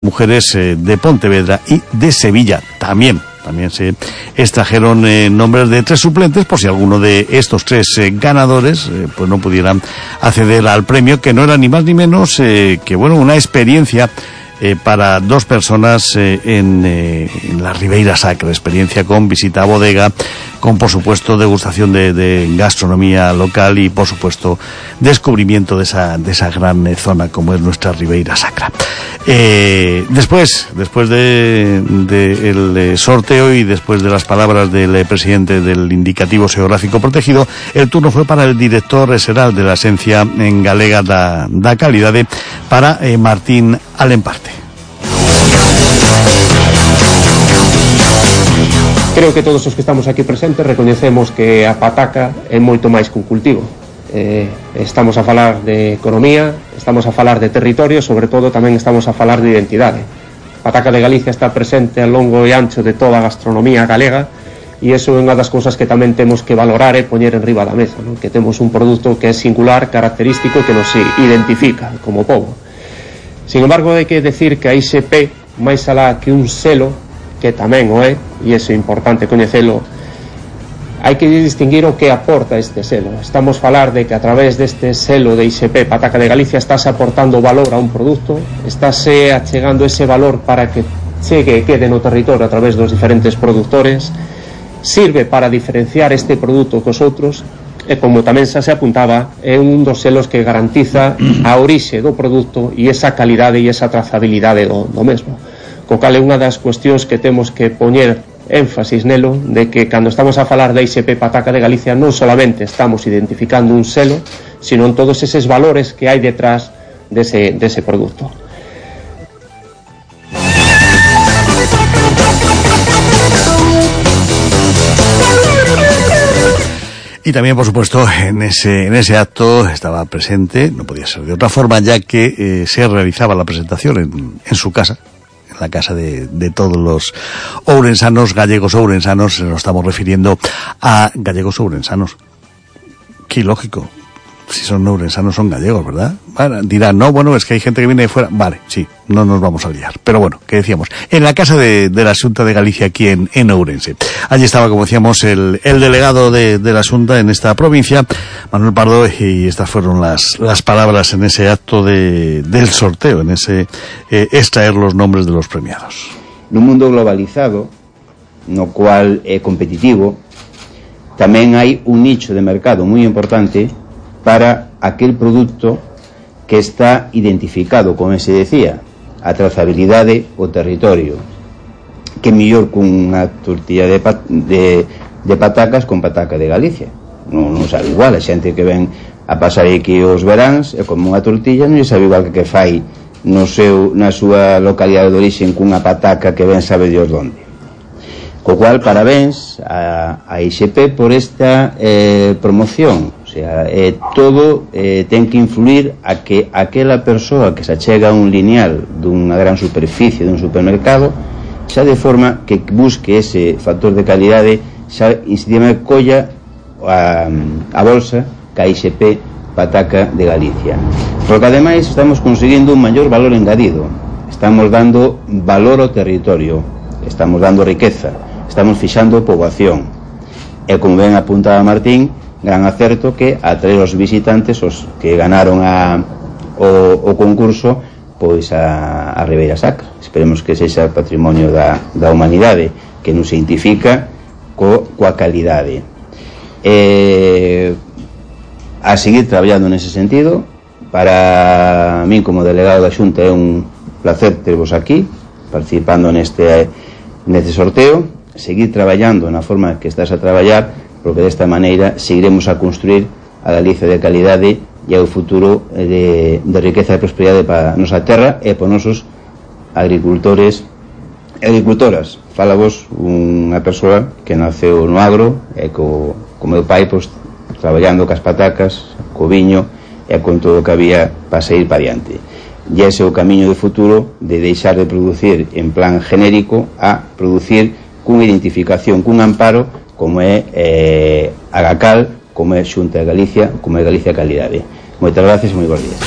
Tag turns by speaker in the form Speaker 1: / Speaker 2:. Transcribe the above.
Speaker 1: mujeres de Pontevedra y de Sevilla. También se extrajeron nombres de 3 suplentes por si alguno de estos 3 ganadores pues no pudieran acceder al premio, que no era ni más ni menos que una experiencia para 2 personas en la Ribeira Sacra, experiencia con visita a bodega, con por supuesto degustación de gastronomía local y por supuesto descubrimiento de esa gran zona como es nuestra Ribeira Sacra. Después del sorteo y después de las palabras del presidente del Indicativo Xeográfico Protegido, el turno fue para el director xeral de la Axencia en Galega da Calidade, para Martín Alemparte.
Speaker 2: Creo que todos os que estamos aquí presentes recoñecemos que a pataca é moito máis que un cultivo. Estamos a falar de economía, estamos a falar de territorio, sobre todo tamén estamos a falar de identidade. Pataca de Galicia está presente a longo e ancho de toda a gastronomía galega, e iso é unha das cousas que tamén temos que valorar e poñer en riba da mesa, non? Que temos un produto que é singular, característico, que nos identifica como pobo. Sin embargo, hai que decir que a ISP, máis alá que un selo, que tamén o é, e iso é importante coñecelo, hai que distinguir o que aporta este selo. Estamos a falar de que a través deste selo de ISP Pataca de Galicia estás aportando valor a un produto, estás achegando ese valor para que chegue e quede no territorio a través dos diferentes produtores, sirve para diferenciar este produto cos outros, e como tamén xa se apuntaba, é un dos selos que garantiza a orixe do produto e esa calidade e esa trazabilidade do mesmo. Co cal é unha das cuestións que temos que poñer énfasis nelo, de que cando estamos a falar da ISP Pataca de Galicia non solamente estamos identificando un selo, sino en todos eses valores que hai detrás dese produto.
Speaker 1: Y también, por supuesto, en ese acto estaba presente, no podía ser de otra forma, ya que se realizaba la presentación en su casa, en la casa de todos los ourensanos, gallegos ourensanos. Nos estamos refiriendo a gallegos ourensanos. Qué lógico. Si son ourensanos, son gallegos, ¿verdad? Bueno, dirán, no, bueno, es que hay gente que viene de fuera. Vale, sí, no nos vamos a liar. Pero bueno, ¿qué decíamos? En la casa de la Xunta de Galicia, aquí en Ourense. Allí estaba, como decíamos, el delegado de la Xunta en esta provincia, Manuel Pardo, y estas fueron las palabras en ese acto del sorteo, en ese extraer los nombres de los premiados.
Speaker 3: Nun mundo globalizado, no cual é competitivo, tamén hai un nicho de mercado moi importante para aquel produto que está identificado, como se decía, a trazabilidade, o territorio, que mellor cunha tortilla de patacas con pataca de Galicia. Non sabe igual, a xente que ven a pasar aquí os veráns e como unha tortilla non sabe igual que fai na súa localidade de origen cunha pataca que ven sabe Dios onde. Co cual, parabéns a ISP por esta promoción. O sea, todo ten que influir a que aquela persoa que se achega a un lineal dunha gran superficie dun supermercado xa de forma que busque ese factor de calidade, xa incidima colla a bolsa que a ISP Pataca de Galicia, porque ademais estamos conseguindo un maior valor engadido, estamos dando valor ao territorio, estamos dando riqueza, estamos fixando poboación, e como ben apuntaba Martín, gran acerto que atraer os visitantes, os que ganaron o concurso, pois a Ribeira Sacra. Esperemos que sexa patrimonio da humanidade, que nos identifica coa calidade. A seguir traballando nese sentido. Para min, como delegado da Xunta, é un placer tervos aquí participando neste sorteo, seguir traballando na forma que estás a traballar, porque desta maneira seguiremos a construir a Galicia de calidade e ao futuro de riqueza e prosperidade para a nosa terra e para os nosos agricultores e agricultoras. Fala vos unha persoa que naceu no agro e co meu pai, pois, traballando cas patacas, co viño e con todo o que había para sair para diante. E ese é o camiño de futuro, de deixar de producir en plan genérico a producir cunha identificación, cun amparo, como é a GACAL, como é Xunta de Galicia, como é Galicia Calidade. Moitas gracias e moi bons días.